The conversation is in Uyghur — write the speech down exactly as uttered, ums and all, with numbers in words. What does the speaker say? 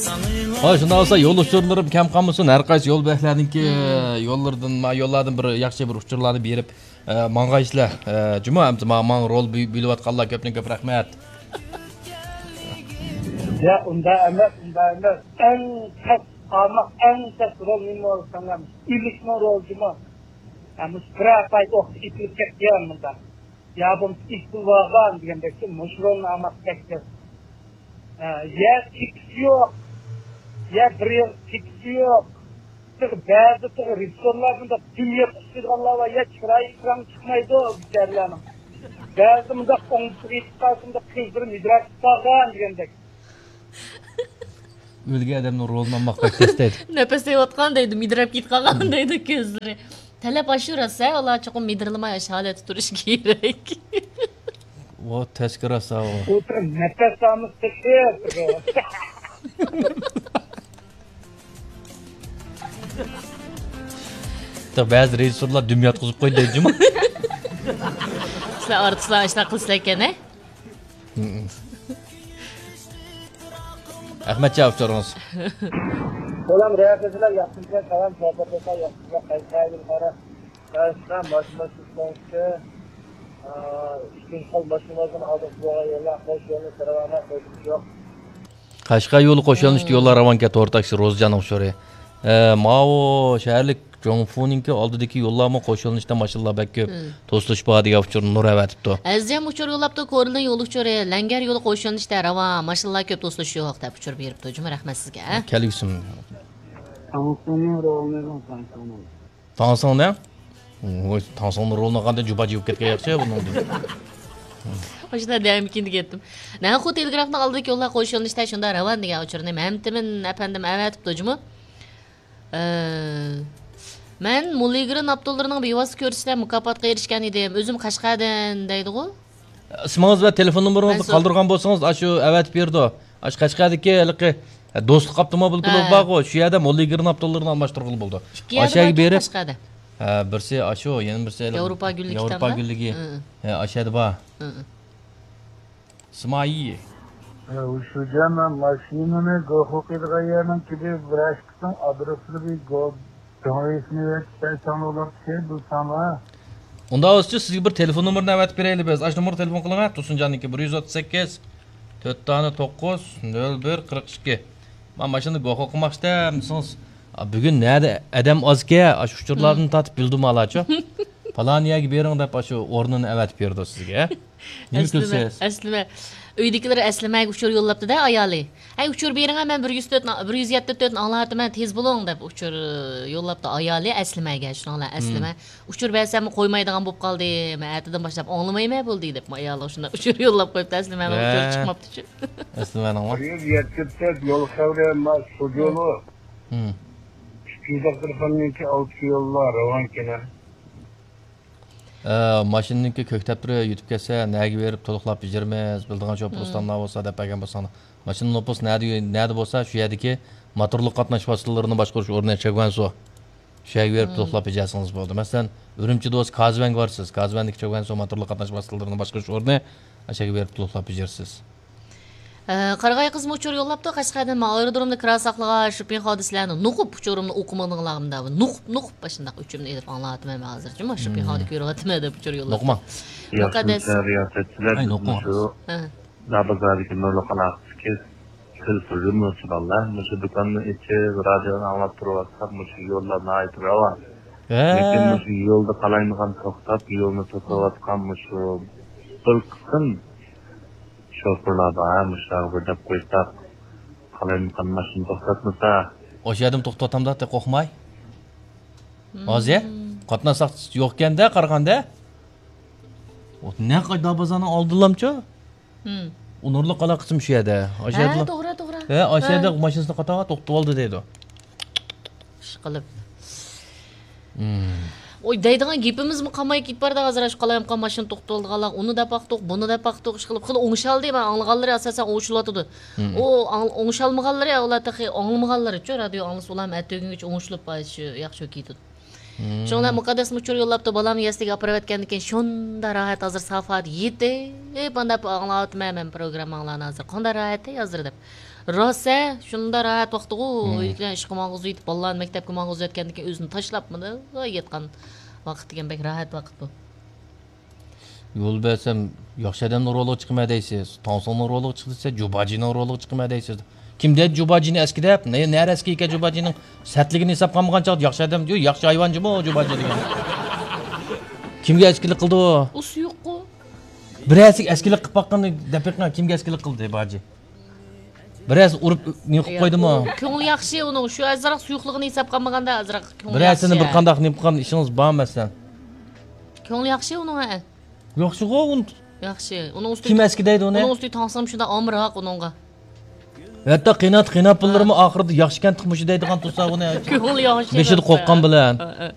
ھاي، شۇنداق بولسا يول ئۇچۇرلىرىم كەم قالمىسۇن، ھەر قايسى يول بۆلەكلەرنىڭكى يوللىرىدىن، ما-، يوللاردىن بىر ياخشى بىر ئۇچۇرلارنى بېرىپ، ئە، ماڭغايسىلەر. ئە، جۇمۇ، ئەمدى ما-، ماڭا رول بۆ-، بۆلۈۋاتقانلار كۆپتىن كۆپ رەھمەت. يا، ئۇنداق ئەمەس، ئۇنداق ئەمەس. ئەڭ تەس ئارماق، ئەڭ تەس رول نېمە بولساڭلار، ئىلىكنىڭ رولى جۇمۇ. ھە، مۇشۇ بىر ئاپايت ئوقتا ئېتىلىپ كەتكەن مۇنداق. يا بولمىسا ئېتىلىۋالغان دېگەندەك، مۇشۇ رولنى ئارماق تەكشۈر. ھە، يا تېكىست يوق، يا بىر يىل تېكىست يوق. تېخى بەزىدە تېخى رېژىسسورلار مۇنداق دۈم يەپ چىقىدىغانلار بار، يا چىرايى ئېكرانغا چىقمايدۇ بىچارىلەرنىڭ. بەزىدە مۇنداق ئوڭدىسىغا يېتىپ قالسا، مۇنداق كۆزلىرى مىدىرلاپ قالغان دېگەندەك. ئۆلگەن ئادەمنىڭ رولىنى ئالماق بەك تەس دەيدۇ. نەپەس ئېلىۋاتقان دەيدۇ، مىدىرلاپ كېتىپ قالغان دەيدۇ كۆزلىرى. تەلەپ ئاشۇ راست ھە، ئۇلار چوقۇم مىدىرلىماي ئاشۇ ھالەتتە تۇرۇشى كېرەك. ۋو، تەسكە راست ھە، ۋو. ئولتۇرۇپ نەپەس ئالمىسا تېخى. بەزى رېژىسسورلار دۈم ياتقۇزۇپ قويدى دەيدۇ جۇمۇ. سىلەر ئارتىسلار ئاشۇنداق قىلسىلەر ئىكەن ھە. ئەخمەتجان ئۇچۇرىڭىز. سالام رەھمەتلەر، ياخشىمىكەن؟ سالام، سوھبەتلەشسەك ياخشىمىكەن؟ قەشقەردىن قارا، قەشقەر ماشىنا سۈرسەڭكى، ئىككىنچى خىل ماشىنىلاردىن ئالدىغا بولغان يوللار، خوش يولنى سىرىۋالماي قويدۇم يوق. قەشقەر يولى قوش يۆنىلىشتە يوللار راۋانكەن، تور تاكسى روزىجاننىڭ ئۇچۇرى. ئە، ماۋۇ شەھەرلىك جوڭفۇنىڭكى ئالدىدىكى يوللارمۇ قوش يۆنىلىشتە ماشىنىلار بەك كۆپ. توسۇلۇش بار دېگەن ئۇچۇرنى نۇر ئەۋەتىپتۇ. ئەزىزجان ئۇچۇر يوللاپتۇ، كورلىدىن يول ئۇچۇرى، لەڭگەر يولى قوش يۆنىلىشتە راۋان، ماشىنىلار كۆپ، توسۇلۇش يوق دەپ ئۇچۇر بېرىپتۇ. جۇمۇ رەھمەت سىزگە. كەلگۈسىم. تاڭسۇننىڭ رولىنى ئېلىڭ، تاڭسۇننىڭ. تاڭسۇننى؟ ۋوي، تاڭسۇننىڭ رولىنى ئالغاندا جۇبا جىۋىپ كەتكەن ياخشى بۇنىڭدىن. ئاشۇنداق دەمكىن دېگەنتىم. نەنخۇ تېلېگرافنىڭ ئالدىدىكى يوللار قوش يۆنىلىشتە شۇنداق راۋان دېگەن ئۇچۇرنى مەمتىمىن ئەپەندىم ئەۋەتىپتۇ جۇمۇ. ئە، مەن موللىگرېن ئاپتوللىرىنىڭ بىۋاسىتە كۆرسىتىشىدە مۇكاپاتقا ئېرىشكەن ئىدىم. ئۆزۈم قەشقەردىن دەيدىغۇ. ئىسمىڭىز ۋە تېلېفون نومۇرىڭىزنى قالدۇرغان بولسىڭىز، ئاشۇ ئەۋەتىپ بېرىدۇ. ئاشۇ قەشقەردىكى ھېلىقى، ئە، دوستلۇق ئاپتوموبىل كۇلۇبى بارغۇ، شۇ يەردە موللىگرېن ئاپتوللىرىنى ئالماشتۇرغىلى بولىدۇ. ئىككى يەردە ئاشۇ يەرگە باركەن بېرىپ، قەشقەردە. ھە، بىرسى ئاشۇ، يەنە بىرسى ياۋروپا گۈللۈكى ياۋروپا گۈللۈكى. ھە، ئاشۇ يەردە بار. ئىسمائىل. ھە، شۇجا، مەن ماشىنىنى گوخۇ قىلىدىغان يەرنىڭ كىبى ۋىراچكىسىنىڭ ئادرېسىنى بىر گو-، دۆڭرىسىنى بەرسەڭ بولاتتى، بىلسەڭلار. ئۇنداق بولسىچۇ، سىزگە بىر تېلېفون نومۇرىنى ئەۋەتىپ بېرەيلى بىز. ئاشۇ نومۇرغا تېلېفون قىلىڭ، ھە، تۇرسۇنجاننىڭكى بىر يۈز ئوتتۇز سەككىز، تۆت دانە توققۇز، نۆل بىر، قىرىق ئىككى. مانا ماشىنىدا گوخۇ قىلماقچىدەم دېسىڭىز، ئا، بۈگۈن نەدە ئادەم ئازكەن، ئاشۇ ئۇچۇرلاردىن تارتىپ بىلدىم ھالاچۇ. پالان يەرگە بېرىڭ دەپ ئاشۇ ئورنىنى ئەۋەتىپ بېرىدۇ سىزگە. نېمە ئەسلىمە، كۆرسەڭىز؟ ئەسلىمە. ئۆيدىكىلەر ئەسلىمەگە ئۇچۇر يوللاپتۇ-دە، ئايالى. ھەي، ئۇچۇر بېرىڭە، مەن بىر يۈز تۆت، بىر يۈز يەتتە تۆتنى ئاڭلاتىمەن، تېز بولۇڭ، دەپ ئۇچۇر يوللاپتۇ ئايالى ئەسلىمەگە. شۇنىڭ بىلەن ئەسلىمە ئۇچۇر بەرسەممۇ قويمايدىغان بولۇپ قالدى. مەن ئەتىدىن باشلاپ ئاڭلىمايمەن بولدى، دەپ ئايالى شۇنداق ئۇچۇر يوللاپ قويۇپتۇ، ئەسلىمەنىڭ ئۇچۇرى چىقماپتۇچۇ. ئەسلىمەنىڭمۇ؟ بىر يۈز يەتتە تۆت يول خەۋىرى، ما، شۇ يولى. ئىككى يۈز ئەللىك تېلېفوننىڭكى ئالتە يوللار راۋانكىنى. ئە، ماشىنىنىڭكى كۆكتەپ تۇرۇپ يۈتۈپ كەتسە، نەگە بېرىپ تولۇقلاپ بېجىرىمىز، بىلىدىغان شوپۇر ئۇستاملار بولسا دەپ بەرگەن بولساڭلار. ماشىنا نوپۇس نەدە، نەدە بولسا، شۇ يەردىكى موتورلۇق قاتناش ۋاسىتىلىرىنى باشقۇرۇش ئورنى چېگۋەنسۇ. شۇ يەرگە بېرىپ تولۇقلاپ بېجەرسىڭىز بولدى. مەسىلەن، ئۈرۈمچىدە بولسا كازۋەنگە بارىسىز. كازۋەندىكى چېگۋەنسۇ موتورلۇق قاتناش ۋاسىتىلىرىنى باشقۇرۇش ئورنى، ئاشۇ يەرگە بېرىپ تولۇقلاپ بېجىرىسىز. ئە، قارىغاي قىزمۇ ئۇچۇر يوللاپتۇ، قەشقەردىن، مەن ئايرودرومدا كىرا ساقلىغان شوپىن خادىسلەرنى نوقۇپ ئۇچۇرۇمنى ئوقۇمىدىڭلارمۇ دەپ، نوقۇپ، نوقۇپ ئاشۇنداق ئۆچۈمنى ئېلىپ ئاڭلاۋاتىمەن مەن ھازىر. جۇمۇ شوپىن خادى كۆرۈۋاتىمەن دەپ ئۇچۇر يوللاپتۇ. نوقۇما. مۇقەددەس. رىياسەتچىلەر، ئاي، نوقۇما. مۇشۇ دابازاردىكى نۇرلۇق ئالاقىسىدىكى تېلېفون رېمونتچىلار، مۇشۇ دۇكاننى ئېچىپ، رادىيونى ئاڭلاپ تۇرۇۋاتساق، مۇشۇ يوللار ناھايىتى راۋان. ھە. لېكىن مۇشۇ يولدا قالايمىقان توختاپ، يولنى توسۇۋاتقان مۇشۇ بىر قىسىم شوپۇرلار بار، ھە، مۇشۇلارغا بىر دەپ قويساق، قالايمىقان ماشىنا توختاتمىسا. ئاشۇ يەردىمۇ توختىتىۋاتامدا، تېخى قورقماي. ھازىر قاتناشلىق يوقكەندە، قارىغاندا. نەق دابازاننىڭ ئالدىلامچۇ؟ ئۇ نۇرلۇق ئالاقىسىمۇ شۇ يەردە. ھە، توغرا، توغرا. ھە، ئاشۇ يەردە ماشىنىسىنى قاتاپ توختىتىۋالدى دەيدۇ. ئىشقىلىپ. ھوي، دەيدىغان گېپىمىزمۇ قالماي كېتىپ بارىدۇ ھازىر، شۇ قالايمىقان ماشىنا توختىتىۋالىدىغانلار، ئۇنى دەپ باقتۇق، بۇنى دەپ باقتۇق، ئىشقىلىپ خېلى ئوڭشالدى، مەن ئاڭلىغانلىرى ئاساسەن ئوڭشىلىۋاتىدۇ. ئۇ ئاڭ-، ئوڭشالمىغانلىرى، ئۇلار تېخى ئاڭلىمىغانلىرىچۇ، رادىيو ئاڭلىسا ئۇلارمۇ ئەتە ئۆگۈنگىچە ئوڭشىلىپ، شۇ ياخشى كېتىدۇ. شۇڭا مۇقەددەس مۇچۇر يوللاپتۇ، بالامنى يەسلىگە ئاپىرىۋەتكەندىن كېيىن شۇنداق راھەت، ھازىر سافادا يېتىپ ئانداق ئاڭلاۋاتىمەن مەن پروگرامماڭلارنى ھازىر. قانداق راھەت ھازىر دەپ. راست ھە، شۇنداق راھەت ۋاقتىغۇ. ئۆيدىكىلەرنى ئىشقا ماڭغۇزۇۋېتىپ، بالىلارنى مەكتەپكە ماڭغۇزۇۋەتكەندىن كېيىن ئۆزىنى تاشلاپمۇ ياتقان ۋاقىت دېگەن بەك راھەت ۋاقىت بۇ. يول بەرسەم، ياخشى ئادەمنىڭ رولىغا چىقىمەن دەيسىز، تاڭسۇڭنىڭ رولىغا چىقىسىز، جۇباجىنىڭ رولىغا چىقىمەن دەيسىز. كىم دەيدۇ جۇباجىنى ئەسكى دەپ؟ نە، نەرە ئەسكى ئىكەن جۇباجىنىڭ؟ سەتلىكىنى ھېساب قىلمىغان چاغدا ياخشى ئادەم، يو، ياخشى ھايۋان جۇمۇ جۇباجى دېگەن. كىمگە ئەسكىلىك قىلدى ئۇ؟ ئۇ سۇيۇققۇ. بىرەرسىگە ئەسكىلىك قىلىپ باققىنى دەپ بېقىڭ، كىمگە ئەسكىلىك قىلدى باجى؟ بىرەرسى ئۇرۇپ نېمە قىلىپ قويدىمۇ؟ كۆڭلى ياخشى ئۇنىڭ، شۇ ئازراق سۇيۇقلۇقىنى ھېساب قىلمىغاندا ئازراق كۆڭلى بىرەرسىنى ياخشى. بىر قانداق نېمە قىلغان ئىشىڭىز بار مەسىلەن؟ كۆڭلى ياخشى ئۇنىڭ ھە. ياخشىغۇ ئۇن-، ياخشى. ئۇنىڭ ئۈستى كىم ئەسكى دەيدۇ ئۇنى؟ ئۇنىڭ ئۈستى تاڭسام شۇنداق ئامراق ئۇنىڭغا. ھەتتا قىيناپ، قىيناپ پۇللىرىمۇ ئاخىرىدا ياخشىكەن تېخى مۇشۇ دەيدىغان تۇرسا ئۇنى. كۆڭلى ياخشى. بېشىدا قورققان بىلەن. ھە، ھە.